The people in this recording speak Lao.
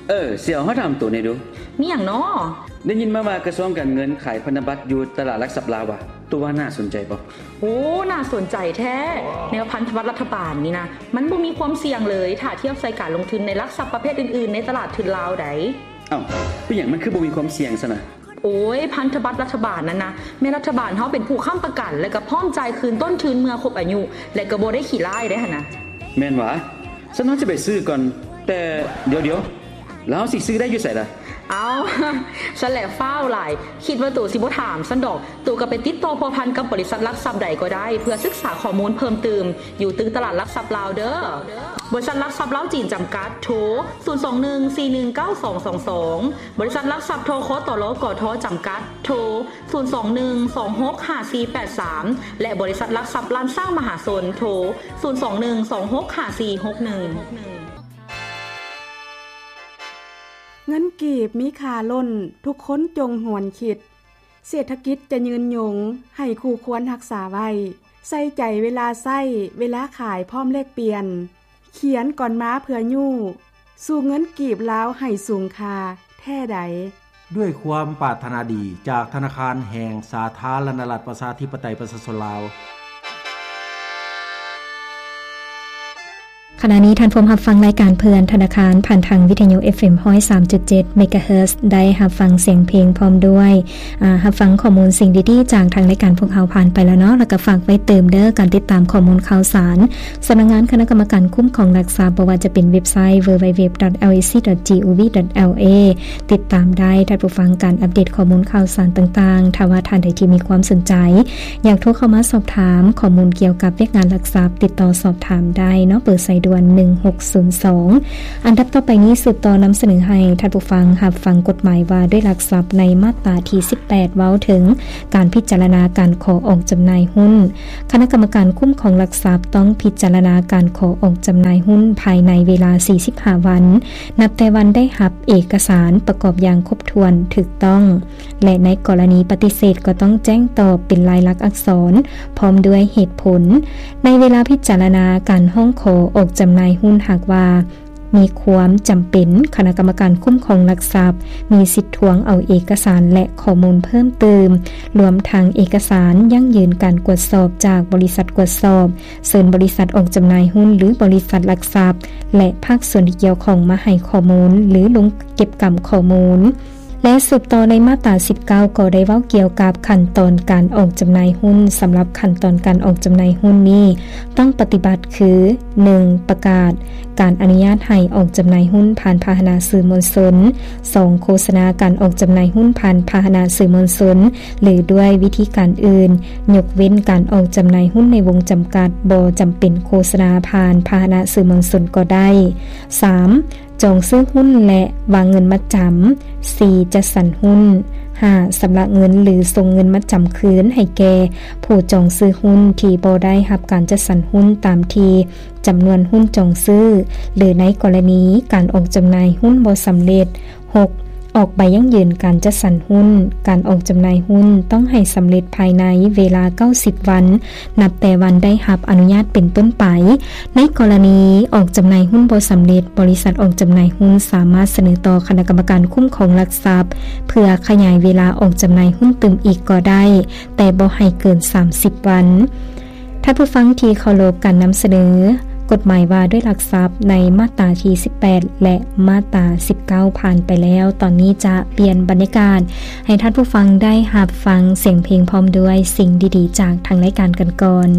ເອີ ຊິເອົາ ເຮົາຖາມໂຕແດ່ດູ. ມີຫຍັງນໍ? ໄດ້ຍິນມາວ່າກະຊວງການເງິນຂາຍພັນທະບັດຢູ່ຕະຫຼາດຫຼັກຊັບລາວວ່າ ໂຕວ່າໜ້າສົນໃຈບໍ່? ໂອ້ ໜ້າສົນໃຈແທ້ ແນວພັນທະບັດລັດຖະບານນີ້ນະ ມັນບໍ່ມີຄວາມສ່ຽງເລີຍ ຖ້າທຽບໃສ່ການລົງທຶນໃນຫຼັກຊັບປະເພດອື່ນໆ ໃນຕະຫຼາດທຶນລາວໃດ໋. ເອົ້າ ເປັນຫຍັງມັນຄືບໍ່ມີຄວາມສ່ຽງຊັ້ນນະ? ໂອ້ຍ ພັນທະບັດລັດຖະບານນັ້ນນະ ແມ່ນລັດຖະບານເຮົາເປັນຜູ້ຄ້ຳປະກັນ ແລະກະພ້ອມຈ່າຍຄືນຕົ້ນທຶນເມື່ອຄົບອາຍຸ ແລະກະບໍ່ໄດ້ຂີ້ລ້າຍໄດ໋ຫັ້ນນະ. ແມ່ນຫວາ? ຊັ້ນເຮົາຊິໄປຊື້ກ່ອນ ແຕ່ ດຽວໆ ແລ້ວເຮົາຊິຊື້ໄດ້ຢູ່ໃສລະ? ເອົ້າ ຊັ້ນແຫຼະຟ້າວຫຼາຍ ຄິດວ່າໂຕຊິບໍ່ຖາມຊັ້ນດອກ. ໂຕກະໄປຕິດຕໍ່ພົວພັນກັບບໍລິສັດຫຼັກຊັບໃດກໍໄດ້ ເພື່ອສຶກສາຂໍ້ມູນເພີ່ມຕື່ມ ຢູ່ຕຶກຕະຫຼາດຫຼັກຊັບລາວເດີ. ບໍລິສັດຫຼັກຊັບລາວຈີນຈຳກັດ ໂທ ສູນສອງໜຶ່ງສີ່ໜຶ່ງເກົ້າສອງສອງສອງ, ບໍລິສັດຫຼັກຊັບ ທຄຕລ ກທ ຈຳກັດ ໂທ ສູນສອງໜຶ່ງສອງຫົກຫ້າສີ່ແປດສາມ ແລະ ບໍລິສັດຫຼັກຊັບລ້ານຊ້າງມະຫາຊົນ ໂທ ສູນສອງໜຶ່ງສອງຫົກຫ້າສີ່ຫົກໜຶ່ງ. ເງິນກີບມີຄ່າລົ້ນ ທຸກຄົນຈົ່ງຫວນຄິດ ເສດຖະກິດຈະຍືນຍົງ ໃຫ້ຄູ່ຄວນຮັກສາໄວ້ ໃສ່ໃຈເວລາໃຊ້ ເວລາຂາຍພ້ອມແລກປ່ຽນ ຂຽນກ່ອນມາເພື່ອຍູ້ ສູ້ເງິນກີບລາວໃຫ້ສູງຄ່າແທ້ໃດ. ດ້ວຍຄວາມປາດຖະໜາດີຈາກທະນາຄານແຫ່ງສາທາລະນະລັດ ປະຊາທິປະໄຕ ປະຊາຊົນລາວ. ຂະນະນີ້ທ່ານພວມຮັບຟັງລາຍການເພື່ອນທະນາຄານ ຜ່ານທາງວິທະຍຸ ເອັຟເອັມ ຮ້ອຍສາມຈຸດເຈັດ ເມກາເຮີດ ໄດ້ຮັບຟັງສຽງເພງພ້ອມດ້ວຍ ອາ ຮັບຟັງຂໍ້ມູນສິ່ງດີໆ ຈາກທາງລາຍການພວກເຮົາຜ່ານໄປແລ້ວເນາະ ແລ້ວກະຝາກໄວ້ຕື່ມເດີ ການຕິດຕາມຂໍ້ມູນຂ່າວສານ ສຳນັກງານຄະນະກຳມະການຄຸ້ມຄອງຫຼັກຊັບ ບໍ່ວ່າຈະເປັນເວັບໄຊ www.lac.gov.la ຕິດຕາມໄດ້ ທ່ານຜູ້ຟັງ ການອັບເດດຂໍ້ມູນຂ່າວສານຕ່າງໆ. ຖ້າວ່າທ່ານໃດທີ່ມີຄວາມສົນໃຈ ຢາກໂທເຂົ້າມາສອບຖາມຂໍ້ມູນກ່ຽວກັບວຽກງານຫຼັກຊັບ ຕິດຕໍ່ສອບຖາມໄດ້ເນາະ ເບີສາຍດ່ວນ ໜຶ່ງຫົກສູນສອງ. ອັນດັບຕໍ່ໄປນີ້ ສືບຕໍ່ນຳສະເໜີໃຫ້ທ່ານຜູ້ຟັງຮັບຟັງກົດໝາຍວ່າດ້ວຍຫຼັກຊັບ ໃນມາດຕາທີສິບແປດ ເວົ້າເຖິງການພິຈາລະນາການຂໍອອກຈຳໜ່າຍຫຸ້ນ. ຄະນະກຳມະການຄຸ້ມຄອງຫຼັກຊັບຕ້ອງພິຈາລະນາການຂໍອອກຈຳໜ່າຍຫຸ້ນພາຍໃນເວລາສີ່ສິບຫ້າວັນ ນັບແຕ່ວັນໄດ້ຮັບເອກະສານປະກອບຢ່າງຄົບຖ້ວນຖືກຕ້ອງ ແລະ ໃນກໍລະນີປະຕິເສດກໍຕ້ອງແຈ້ງຕອບເປັນລາຍລັກອັກສອນ ພ້ອມດ້ວຍເຫດຜົນ. ໃນເວລາພິຈາລະນາການຮ້ອງຂໍອອກຈຳໜ່າຍຫຸ້ນ ຫາກວ່າມີຄວາມຈຳເປັນ, ຄະນະກຳມະການຄຸ້ມຄອງຫຼັກຊັບມີສິດທວງເອົາເອກະສານ ແລະ ຂໍ້ມູນເພີ່ມຕື່ມ, ລວມທັງເອກະສານຢັ້ງຢືນການກວດສອບຈາກບໍລິສັດກວດສອບ, ເຊີນບໍລິສັດອອກຈຳໜ່າຍຫຸ້ນ ຫຼື ບໍລິສັດຫຼັກຊັບ ແລະ ພາກສ່ວນທີ່ກ່ຽວຂ້ອງມາໃຫ້ຂໍ້ມູນ ຫຼື ລົງເກັບກຳຂໍ້ມູນ. ແລະ ສືບຕໍ່ໃນມາດຕາສິບເກົ້າ ກໍໄດ້ເວົ້າກ່ຽວກັບຂັ້ນຕອນການອອກຈຳໜ່າຍຫຸ້ນ. ສຳລັບຂັ້ນຕອນການອອກຈຳໜ່າຍຫຸ້ນນີ້ ຕ້ອງປະຕິບັດຄື ໜຶ່ງ ປະກາດການອະນຸຍາດໃຫ້ອອກຈຳໜ່າຍຫຸ້ນຜ່ານພາຫະນະສື່ມວນຊົນ, ສອງ ໂຄສະນາການອອກຈຳໜ່າຍຫຸ້ນຜ່ານພາຫະນະສື່ມວນຊົນ ຫຼື ດ້ວຍວິທີການອື່ນ, ຍົກເວັ້ນການອອກຈຳໜ່າຍຫຸ້ນໃນວົງຈຳກັດ, ບໍ່ຈຳເປັນໂຄສະນາຜ່ານພາຫະນະສື່ມວນຊົນກໍໄດ້. ສາມ ຈອງຊື້ຫຸ້ນ ແລະ ວາງເງິນມັດຈຳ. ສີ່ ຈັດສັນຫຸ້ນ. ຫ້າ ຊຳລະເງິນ ຫຼື ສົ່ງເງິນມັດຈຳຄືນໃຫ້ແກ່ຜູ້ຈອງຊື້ຫຸ້ນທີ່ບໍ່ໄດ້ຮັບການຈັດສັນຫຸ້ນຕາມທີ່ຈຳນວນຫຸ້ນຈອງຊື້ ຫຼື ໃນກໍລະນີການອອກຈຳໜ່າຍຫຸ້ນບໍ່ສຳເລັດ. ຫົກ ອອກໃບຢັ້ງຢືນການຈັດສັນຫຸ້ນ. ການອອກຈຳໜ່າຍຫຸ້ນຕ້ອງໃຫ້ສຳເລັດພາຍໃນເວລາເກົ້າສິບວັນ ນັບແຕ່ວັນໄດ້ຮັບອະນຸຍາດເປັນຕົ້ນໄປ. ໃນກໍລະນີອອກຈຳໜ່າຍຫຸ້ນບໍ່ສຳເລັດ, ບໍລິສັດອອກຈຳໜ່າຍຫຸ້ນສາມາດສະເໜີຕໍ່ຄະນະກຳມະການຄຸ້ມຄອງຫຼັກຊັບ ເພື່ອຂະຫຍາຍເວລາອອກຈຳໜ່າຍຫຸ້ນຕື່ມອີກກໍໄດ້, ແຕ່ບໍ່ໃຫ້ເກີນສາມສິບວັນ. ທ່ານຜູ້ຟັງທີ່ເຄົາລົບ, ການນຳສະເໜີກົດໝາຍວ່າດ້ວຍຫຼັກຊັບໃນມາດຕາທີສິບແປດ ແລະ ມາດຕາສິບເກົ້າຜ່ານໄປແລ້ວ. ຕອນນີ້ຈະປ່ຽນບັນຍາກາດໃຫ້ທ່ານຜູ້ຟັງໄດ້ຮັບຟັງສຽງເພງພ້ອມດ້ວຍສິ່ງດີໆຈາກທາງລາຍການກັນກ່ອນ.